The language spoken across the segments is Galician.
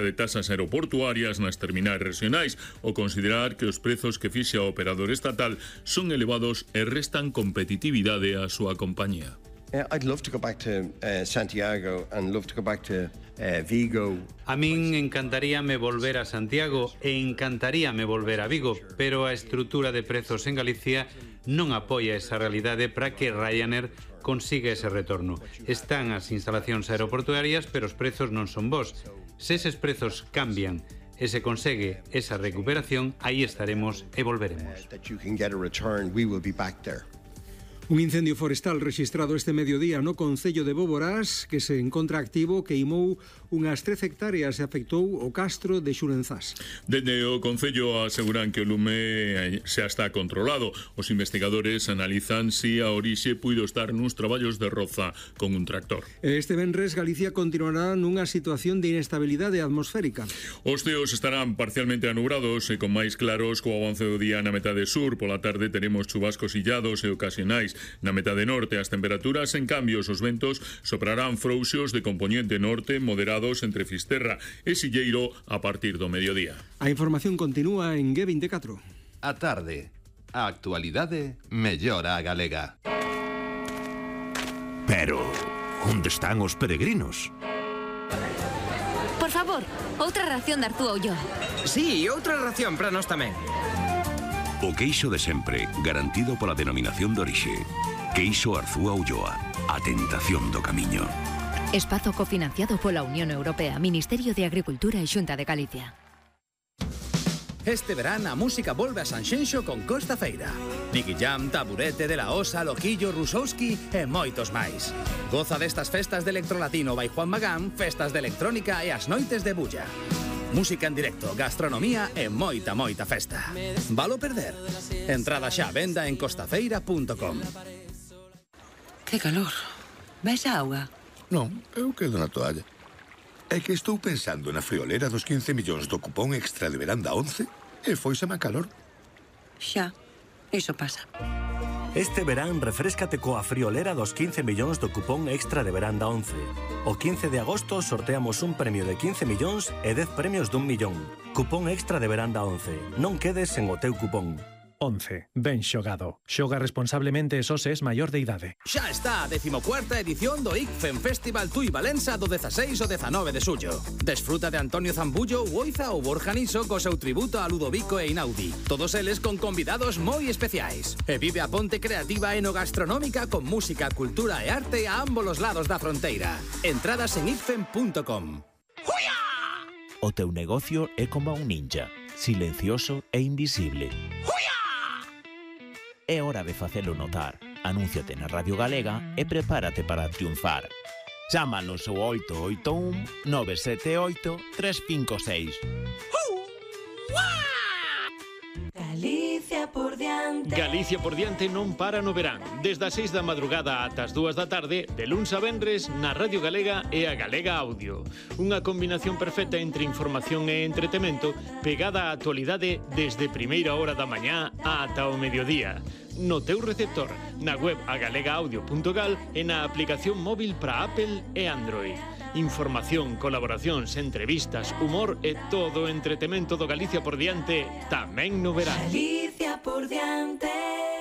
de tasas aeroportuarias nas terminais regionais ao considerar que os prezos que fixa o operador estatal son elevados e restan competitividade á súa compañía. I'd love to go back to Santiago and love to go back to Vigo. A min encantaríame volver a Santiago e encantaríame volver a Vigo, pero a estrutura de prezos en Galicia non apoia esa realidade para que Ryanair consiga ese retorno. Están as instalacións aeroportuarias, pero os prezos non son bons. Se eses prezos cambian e se consegue esa recuperación, aí estaremos e volveremos. Un incendio forestal rexistrado este mediodía no concello de Boborás, que se encontra activo, queimou unhas 13 hectáreas e afectou o castro de Xurenzás. Dende o concello aseguran que o lume xa está controlado. Os investigadores analizan si a orixe puido estar nuns traballos de roza con un tractor. Este venres Galicia continuará nunha situación de inestabilidade atmosférica. Os ceos estarán parcialmente anubrados e con máis claros co avance do día na metade sur. Pola tarde teremos chubascos illados e ocasionais. Na metade norte as temperaturas, en cambio, os ventos soprarán frouxos de compoñente norte moderados entre Fisterra e Silleiro a partir do mediodía. A información continúa en G24. A tarde, a actualidade mellora a galega. Pero, onde están os peregrinos? Por favor, outra ración de Arzúa Ulloa. Sí, outra ración para nós tamén. O queixo de sempre, garantido pola denominación de orixe. Queixo Arzúa Ulloa, a tentación do camiño. Espazo cofinanciado pola Unión Europea, Ministerio de Agricultura e Xunta de Galicia. Este verán a música volve a Sanxenxo con Costa Feira. Nicky Jam, Taburete, De La Osa, Loquillo, Rusowski e moitos máis. Goza destas festas de electrolatino by Juan Magán, festas de electrónica e as noites de bulla. Música en directo, gastronomía e moita festa. Valo perder? Entrada xa a venda en costafeira.com. Que calor. Vais a auga? Non, eu quedo na toalla. É que estou pensando na friolera dos 15 millóns do cupón extra de veranda 11 e foiseme a calor. Xa, iso pasa. Este verán refréscate coa friolera dos 15 millóns do cupón extra de veranda 11. O 15 de agosto sorteamos un premio de 15 millóns e 10 premios dun millón. Cupón extra de veranda 11. Non quedes sen o teu cupón. 11. Ben xogado. Xoga responsablemente e só se es maior de idade. Xa está a 14ª edición do ICFEN Festival Tui Valença do 16 ao 19 de xullo. Desfruta de Antonio Zambullo, Uoiza ou Borja Niso co seu tributo a Ludovico e Inaudi. Todos eles con convidados moi especiais. E vive a ponte creativa enogastronómica con música, cultura e arte a ambos os lados da fronteira. Entradas en icfen.com. O teu negocio é como un ninja, silencioso e invisible. É hora de facelo notar. Anúnciate na Radio Galega e prepárate para triunfar. Chámanos ao 881 978 356. Galicia por diante. Galicia por diante non para no verán. Desde as 6 da madrugada ata as 2 da tarde, de luns a venres, na Radio Galega e a Galega Audio. Unha combinación perfecta entre información e entretemento, pegada á actualidade desde primeira hora da mañá ata o mediodía. No teu receptor, na web agalegaudio.gal e na aplicación móvil para Apple e Android. Información, colaboracións, entrevistas, humor e todo o entretemento do Galicia por diante tamén no verán. Galicia por diante.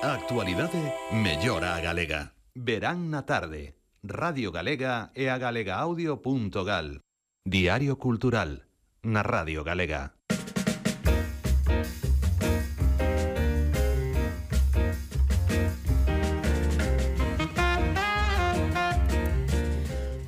A actualidade mellora a galega. Verán na tarde. Radio Galega e a galegaudio.gal. Diario Cultural. Na Radio Galega.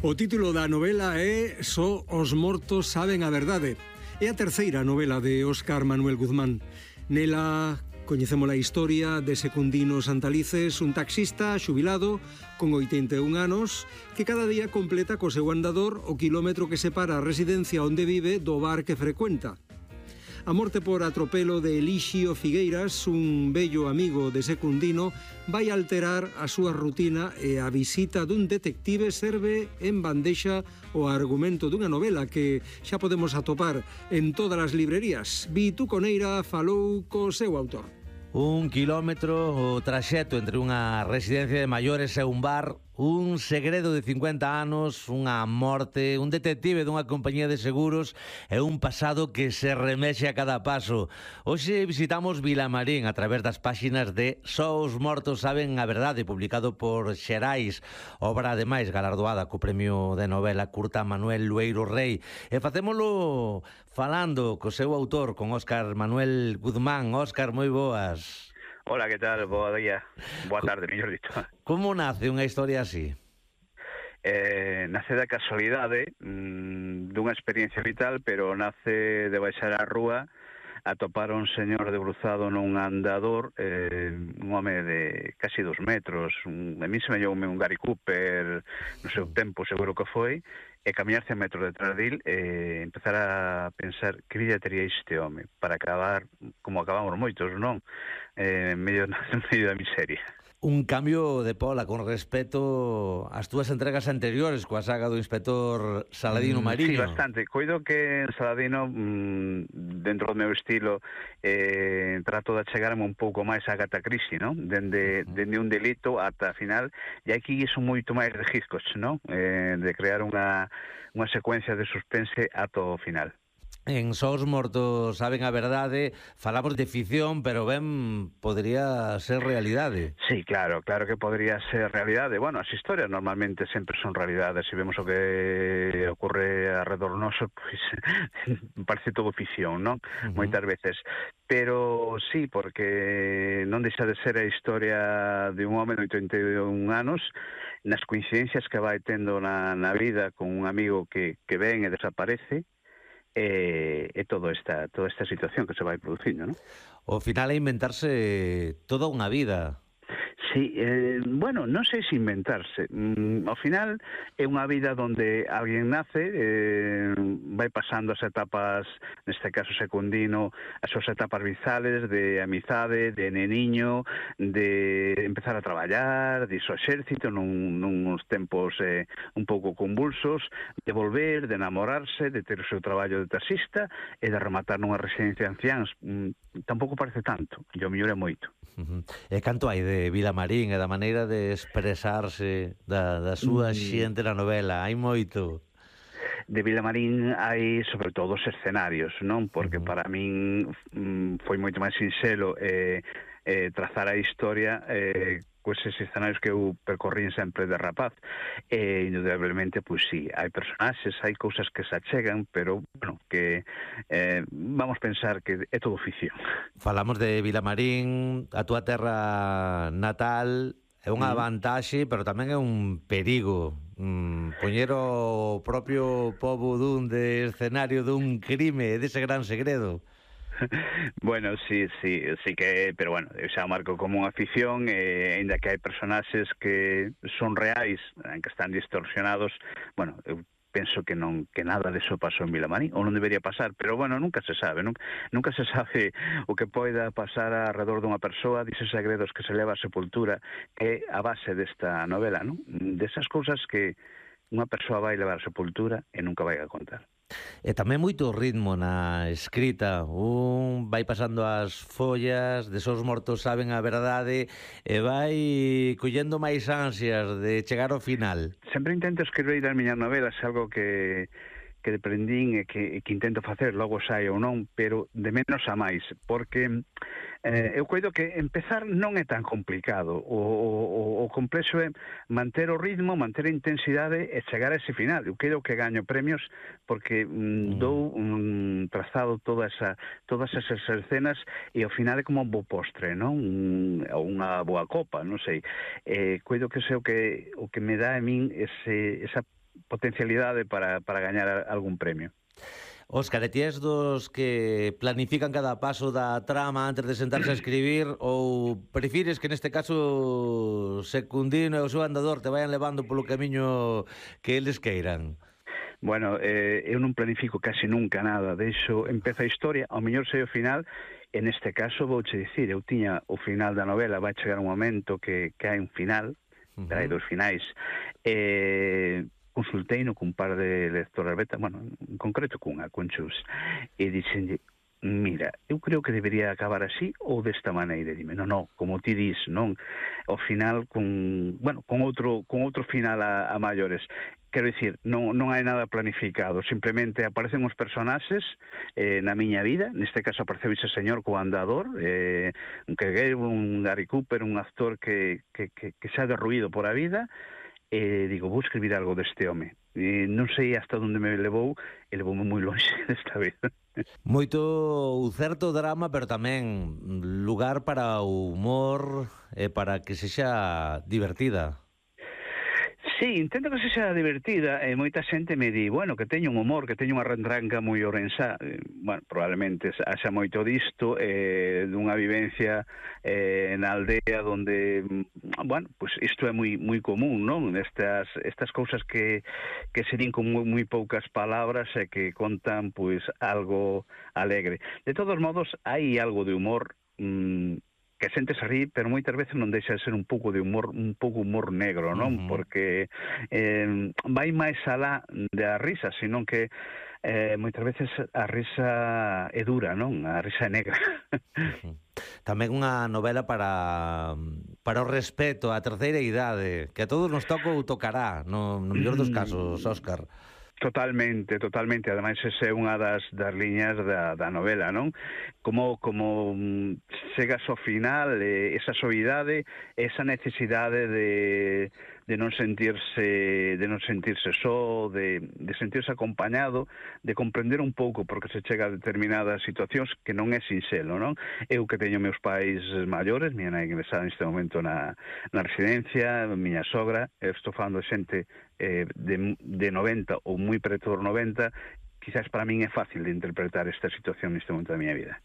O título da novela é Só os mortos saben a verdade. É a terceira novela de Óscar Manuel Guzmán. Nela coñecemos a historia de Secundino Santalices, un taxista xubilado con 81 anos que cada día completa co seu andador o quilómetro que separa a residencia onde vive do bar que frecuenta. A morte por atropelo de Elixio Figueiras, un bello amigo de Secundino, vai alterar a súa rutina e a visita dun detective serve en bandexa o argumento dunha novela que xa podemos atopar en todas as librerías. Vitu Coneira falou co seu autor. Un quilómetro o traxecto entre unha residencia de maiores e un bar Un segredo de 50 anos, unha morte, un detective dunha compañía de seguros e un pasado que se remexe a cada paso. Hoxe visitamos Vilamarín a través das páxinas de Só os mortos saben a verdade, publicado por Xerais, obra ademais galardoada co premio de novela curta Manuel Lueiro Rei. E facémolo falando co seu autor, con Óscar Manuel Guzmán. Óscar, moi boas. Hola, que tal? Boa día. Boa tarde, mellor dito. Como nace unha historia así? Nace da casualidade dunha experiencia vital, pero nace de baixar á rúa a topar un señor debruzado nun andador, un home de casi 2 metros, a mí se me llevoume un Gary Cooper no seu tempo, seguro que foi, e camiñar 100 metros detrás dil e empezar a pensar que vida tería este home para acabar como acabamos moitos, non? En medio da miseria. Un cambio de pola con respecto ás túas entregas anteriores coa saga do inspector Saladino Mariño. Sí, bastante. Coido que en Saladino, dentro do meu estilo, trato de achegarme un pouco máis a Agatha Christie, non? Dende un delito ata a final, e aquí son moito máis de Hitchcock, non? De crear unha secuencia de suspense ata o final. En Só os mortos saben a verdade, falamos de ficción, pero ben podría ser realidade. Sí, claro que podría ser realidade. Bueno, as historias normalmente sempre son realidades. Se vemos o que ocorre alrededor noso, pois parece todo ficción, non? Moitas veces. Pero sí, porque non deixa de ser a historia de un home de 81 anos, nas coincidencias que vai tendo na vida con un amigo que ven e desaparece, e toda esta situación que se vai producindo, non? O final é inventarse toda unha vida. Sí, bueno, non sei se inventarse. Ao final é unha vida onde alguén nace, vai pasando as etapas, neste caso secundino, as súas etapas vizales de amizade, de neniño, de empezar a traballar, de iso exército nuns tempos un pouco convulsos, de volver, de enamorarse, de ter o seu traballo de taxista e de rematar nunha residencia de anciáns. Tampouco parece tanto, e o mellor é moito. E canto hai de Vilamarín e da maneira de expresarse da súa xente na novela? Hai moito. De Vilamarín hai sobre todo os escenarios, non? Porque para min foi moito máis sinxelo trazar a historia coa eses escenarios que eu percorrín sempre de rapaz. E indudablemente, pois sí, hai personaxes, hai cousas que se achegan, pero, bueno, que vamos pensar que é todo ficción. Falamos de Vilamarín, a túa terra natal, é unha vantaxe, pero tamén é un perigo. Poñer o propio pobo dun de escenario dun crime, dese gran segredo. Bueno, sí que, pero bueno, xa marco como unha ficción, ainda que hai personaxes que son reais, que están distorsionados, bueno, eu penso que nada deso pasou en Vilamarín, ou non debería pasar, pero bueno, nunca se sabe, nunca se sabe o que poida pasar alrededor dunha persoa, dices segredos que se leva a sepultura, que é a base desta novela, non? Desas cousas que unha persoa vai levar a sepultura e nunca vai a contar. E tamén moito ritmo na escrita. Un vai pasando as follas, de Só os mortos saben a verdade, e vai collendo máis ansias de chegar ao final. Sempre intento escribir as miñas novelas, algo que deprendín e que intento facer, logo sai ou non, pero de menos a máis, porque eu coido que empezar non é tan complicado. O complexo é manter o ritmo, manter a intensidade e chegar a ese final. Eu coido que gaño premios porque dou trazado todas esas escenas e ao final é como un bo postre, non? Unha boa copa, non sei. Coido que é o que me dá a min esa potencialidade para gañar algún premio. Óscar, ti és dos que planifican cada paso da trama antes de sentarse a escribir, ou prefires que neste caso Secundino e o seu andador te vayan levando polo camiño que eles queiran? Bueno, eu non planifico casi nunca nada, deixo, empeza a historia, ao mellor sei o final. En este caso vouche dicir, eu tiña o final da novela, vai chegar un momento que hai un final, pero hai 2 finais, consultei no cun par de lectoras beta, bueno, en concreto cunha, con Chus, e dixenlle, mira, eu creo que debería acabar así ou desta maneira. Dime, non, como ti dis, non? Ao final, con outro final a maiores. Quero dicir, non hai nada planificado, simplemente aparecen os personaxes na miña vida, neste caso apareceu ese señor co andador, un Kegueiro, un Gary Cooper, un actor que xa derruído por a vida, e digo, vou escribir algo deste home. Non sei hasta onde me levou, e levoume moi longe desta vez. Moito certo drama, pero tamén lugar para o humor e para que sexa divertida. Sí, intento que sexa divertida e moita xente me di, bueno, que teño un humor, que teño unha rentranca moi orensá. Bueno, probablemente haxa moito disto dunha vivencia na aldea onde, bueno, pues isto é moi común, non? Estas cousas que se din con moi poucas palabras e que contan, pues, algo alegre. De todos modos, hai algo de humor que a xente se rí, pero moitas veces non deixa de ser un pouco humor negro, non? Porque vai máis alá da risa, senón que moitas veces a risa é dura, non? A risa é negra. Tamén unha novela para o respeto, a terceira idade, que a todos nos toca ou tocará, no mellor dos casos, Óscar. Totalmente. Ademais, esa é unha das liñas da novela, non? Como chegas ao final, esa soidade, esa necesidade de non sentirse só, de sentirse acompañado, de comprender un pouco porque se chega a determinadas situacións que non é sinxelo, non? Eu que teño meus pais maiores, miña nai ingresada neste momento na residencia, miña sogra, estou falando de xente de 90 ou moi preto dos 90, quizás para min é fácil de interpretar esta situación neste momento da miña vida.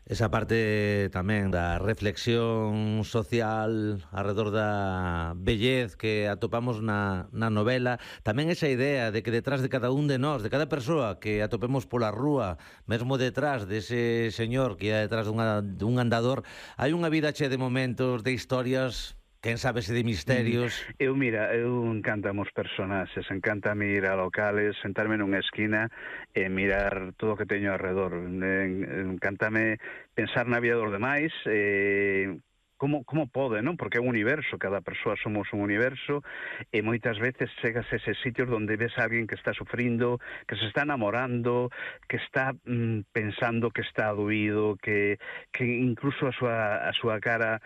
Esa parte tamén da reflexión social alrededor da vellez que atopamos na novela, tamén esa idea de que detrás de cada un de nós, de cada persoa que atopemos pola rúa, mesmo detrás dese señor que é detrás dun andador, hai unha vida chea de momentos, de historias, quen sabe se de misterios. Eu encantame os personaxes, encantame ir a locales, sentarme nunha esquina e mirar todo o que teño alrededor. Encantame pensar na vida dos demais, como pode, non? Porque é un universo, cada persoa somos un universo, e moitas veces chegas a eses sitios onde ves a alguén que está sufrindo, que se está enamorando, que está pensando que está doído, que incluso a súa cara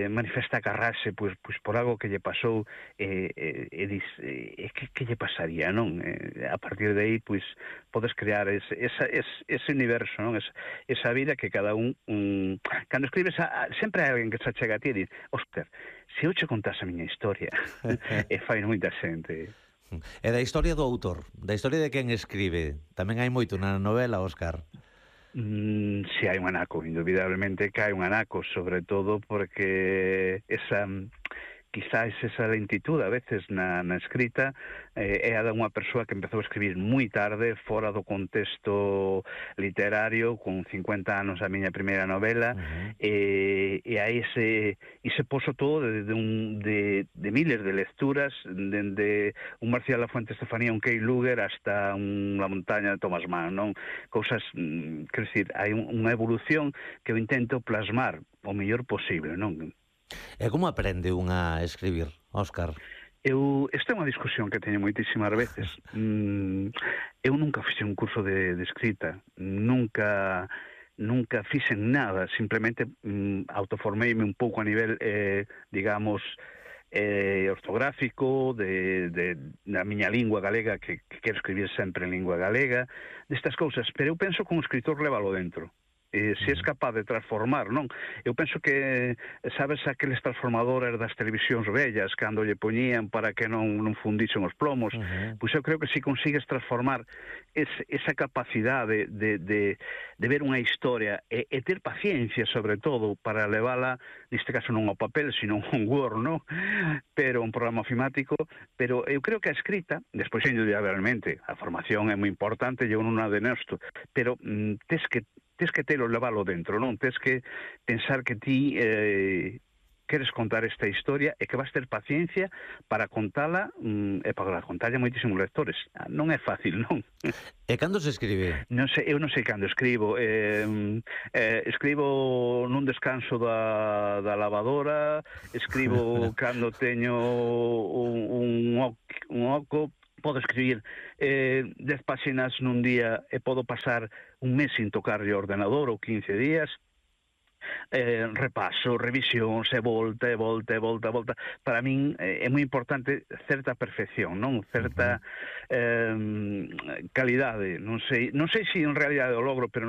manifesta carrase pois por algo que lle pasou, e dis, que lle pasaría, non? A partir de aí, pois, podes crear ese universo, non? Esa vida que cada un... Cando escribes, sempre hai alguén que se achega a ti e di, Óscar, se eu che contase a miña historia, e fai moita xente. E da historia do autor, da historia de quen escribe, tamén hai moito na novela, Óscar? Si hai un anaco, indubidablemente que hai un anaco, sobre todo porque quizás esa lentitud a veces na escrita é a de unha persoa que empezou a escribir moi tarde, fora do contexto literario, con 50 anos a miña primeira novela, e hai ese poso todo de miles de lecturas, dende un Marcial Lafuente Estefanía, un Kay Luger, hasta La montaña de Thomas Mann, non? Cousas, quero dicir, hai unha evolución que eu intento plasmar o mellor posible, non? E como aprende un a escribir, Óscar? Esta é unha discusión que teño moitísimas veces. Eu nunca fixe un curso de escrita, nunca fixen nada, simplemente autoformeime un pouco a nivel, digamos, ortográfico, da miña lingua galega, que quero escribir sempre en lingua galega, destas cousas, pero eu penso que un escritor levalo dentro. Se és capaz de transformar, non? Eu penso que, sabes, aqueles transformadores das televisións vellas cando lle poñían para que non fundisen os plomos, pois eu creo que se consigues transformar esa capacidade de ver unha historia e ter paciencia, sobre todo, para levala, neste caso non ao papel, sino un Word, non? Pero un programa ofimático, pero eu creo que a escrita, despois, indudablemente, a formación é moi importante, eu non a denesto, pero tens que telo levalo dentro, non? Tens que pensar que ti queres contar esta historia e que vas ter paciencia para contala e para contarlle a moitísimos lectores. Non é fácil, non? E cando se escribe? Non sei, eu non sei cando escribo. Escribo nun descanso da lavadora, escribo cando teño un oco, podo escribir 10 páxinas nun día e podo pasar un mes sin tocarlle o ordenador ou 15 días. Repaso, revisións e volta. Para min é moi importante certa perfección, non? Certa calidade. Non sei se en realidade o logro, pero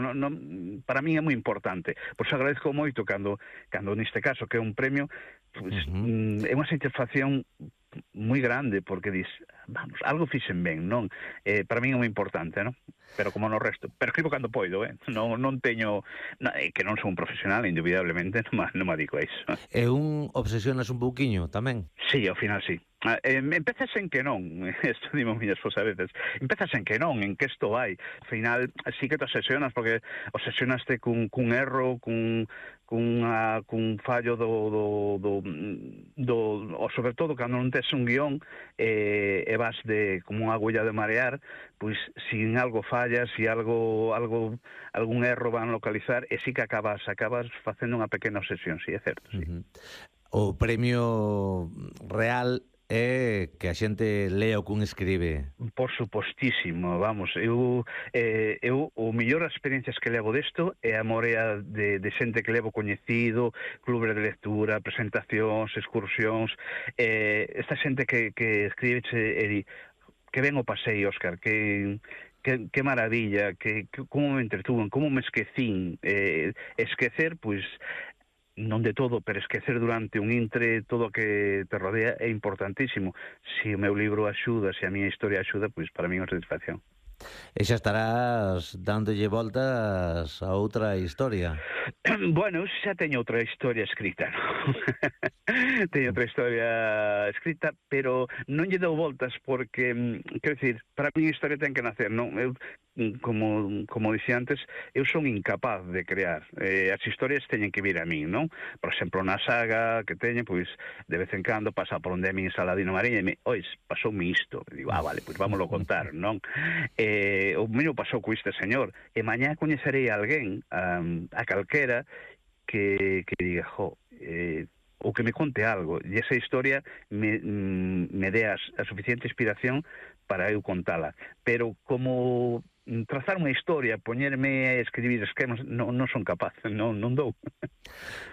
para min é moi importante. Pois agradezco moito cando neste caso que é un premio, pues, é unha satisfacción moi grande, porque dis, vamos, algo fixen ben, non? Para min é moi importante, non? Pero como no resto, pero escribo cando poido, non teño, que non son un profesional, indubidablemente, non me dedico a iso. E obsesionas un pouquiño tamén? Sí, ao final sí. Empezas en que non, isto dimo miña esposa a veces, empezas en que non, en que isto vai. Ao final sí que te obsesionas, porque obsesionaste cun erro, cun fallo ou sobre todo cando non tes un guión e vas como unha agulla de marear, pois se algo fallas, se algún erro van localizar, e sí que acabas facendo unha pequena obsesión, sí, é certo, sí. O premio real é que a xente lea o que un escribe. Por supostísimo, vamos, eu o mellor experiencias que levo desto é a morea de xente que levo coñecido, clubes de lectura, presentacións, excursións, esta xente que escribe e di, que ben o pasei, Óscar, que maravilla, como me entretuven, como me esquecín. Esquecer, pois, non de todo, pero esquecer durante un intre todo o que te rodea é importantísimo. Se o meu libro axuda, se a miña historia axuda, pois para mí é unha satisfacción. E xa estarás dándolle voltas a outra historia. Bueno, xa teño outra historia escrita, non? Teño outra historia escrita, pero non lle dou voltas porque, quero dicir, para mí a historia ten que nacer, non? Eu, como dixía antes, eu son incapaz de crear. As historias teñen que vir a min, non? Por exemplo, na saga que teño, pois, de vez en cando pasa por onde é min Saladino Mariña e me, ois, pasoume isto. E digo, vale, pois vámoslo contar, non? O mesmo pasou co este señor. E mañá coñecerei a alguén, a calquera, que diga, ou que me conte algo, e esa historia me dé a suficiente inspiración para eu contala. Pero como trazar unha historia, poñerme a escribir esquemas, non son capaz, non dou.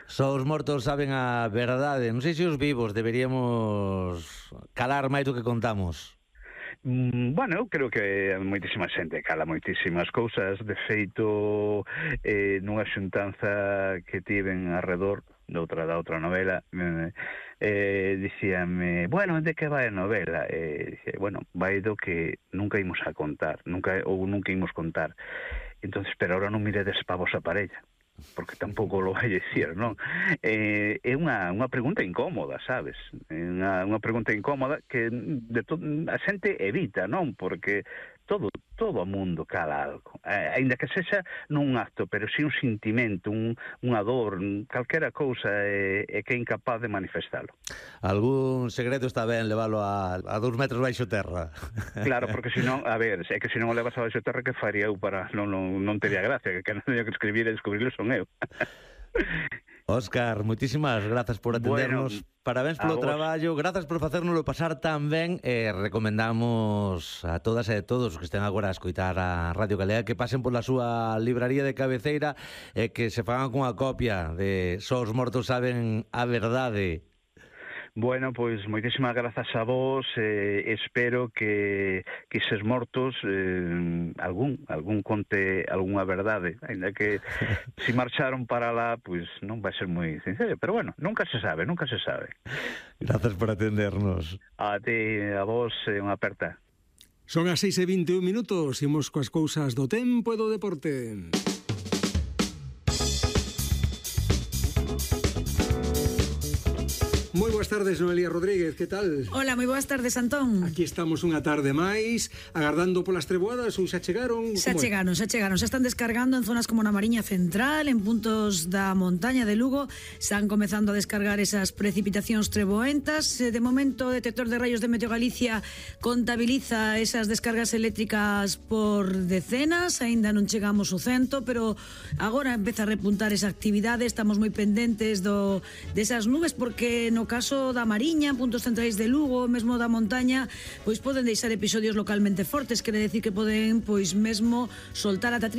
Só os mortos saben a verdade. Non sei se os vivos deberíamos calar máis do que contamos. Bueno, eu creo que moitísima xente cala moitísimas cousas. De feito, nunha xuntanza que tiven arredor da outra novela, dicíame, bueno, de que vai a novela? Dice, bueno, vai do que nunca imos a contar, nunca imos contar. Entonces, pero ahora non miredes pa vosa parella, porque tampouco lo vai dicir, non? É unha pregunta incómoda, sabes? Unha pregunta incómoda que a xente evita, non? Porque todo o mundo cala algo, aínda que sexa non un acto, pero si un sentimento, unha dor, calquera cousa, é que é incapaz de manifestalo. Algún segredo está ben leválo a 2 metros baixo terra. Claro, porque senón, a ver, é que senón o levas a baixo terra, que faría eu para non teria gracia, que non teño que escribir e descubrirlo son eu. Óscar, moitísimas grazas por atendernos. Bueno, parabéns polo traballo, grazas por facérnoslo pasar tan ben, e recomendamos a todas e a todos que estén agora a escoitar a Radio Galega que pasen pola súa libraría de cabeceira e que se fagan cunha copia de Só os mortos saben a verdade. Bueno, pois moitísimas grazas a vos, espero que eses mortos algún conte algunha verdade, ainda que se marcharon para lá, pois non vai ser moi sincero, pero bueno, nunca se sabe. Grazas por atendernos. A ti, a vos, unha aperta. Son as 6:21 minutos, imos coas cousas do tempo e do deporte. Moi Moi boas tardes, Noelia Rodríguez, que tal? Hola, moi boas tardes, Antón. Aquí estamos unha tarde máis, agardando polas treboadas, ou xa chegaron? Xa chegaron, xa están descargando en zonas como na Mariña Central, en puntos da montaña de Lugo, están comezando a descargar esas precipitacións treboentas. De momento, o detector de rayos de Meteo Galicia contabiliza esas descargas eléctricas por decenas, aínda non chegamos ao 100, pero agora empeza a repuntar esa actividade, estamos moi pendentes desas nubes, porque no caso da Mariña, puntos centrais de Lugo, mesmo da montaña, pois poden deixar episodios localmente fortes, quere decir que poden pois mesmo soltar ata